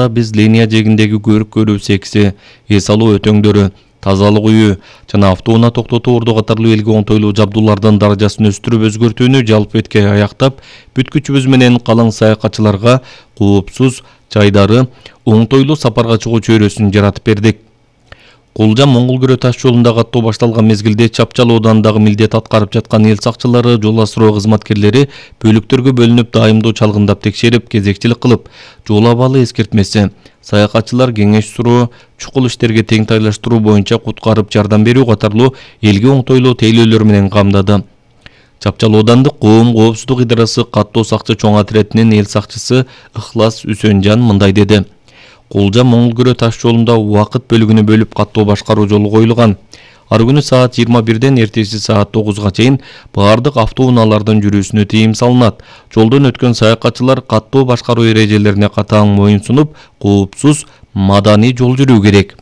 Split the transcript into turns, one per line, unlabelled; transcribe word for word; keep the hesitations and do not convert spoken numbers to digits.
Биз линия жегиндеги көрүп көрүү секси, эс алуу өтөңдөрү, тазалык үйү жана автоунаа токтотуу орду катарлуу элге оңтойлуу жабдуулардын даражасын өстүрүп өзгөртүүнү жалпы бетке аяктап, бүткүчүбүз менен калың саякатчыларга коопсуз жайдары оңтойлуу сапарга чыгуу чөйрөсүн жаратып бердик. Кулжа Моңгол Күрө таш жолунда каттоо башталган мезгилде Чапчал оодандагы милдет аткарып жаткан эл сакчылары, жол асыроо кызматкерлери бөлүктөргө бөлүнүп дайымдоо чалгындап текшерип, кезекчилик кылып, жол абалы эскертмеси, саякатчылар кеңеш суроо, чукул иштерге тең тайлаштыруу боюнча куткарып жардам берүү катарлуу элге оңтойлуу тейлөөлөр менен камдады. Чапчал оодандык коом коопсуздук идарасы каттоо сакчы чоң отретинин эл сакчысы Ыхлас Үсөнжан мындай деди. Кулжа Моңгол Күрө таш жолунда убакыт бөлүгүнө бөлүп каттоо башкаруу жолу коюлган. Ар күнү саат жыйырма бирден эртеси саат тогузга чейин баардык автоунаалардын жүрүүсүнө тыйым салынат. Жолдон өткөн саякатчылар каттоо башкаруу эрежелерине катаң моюн сунуп, коопсуз, маданий жол жүрүү керек.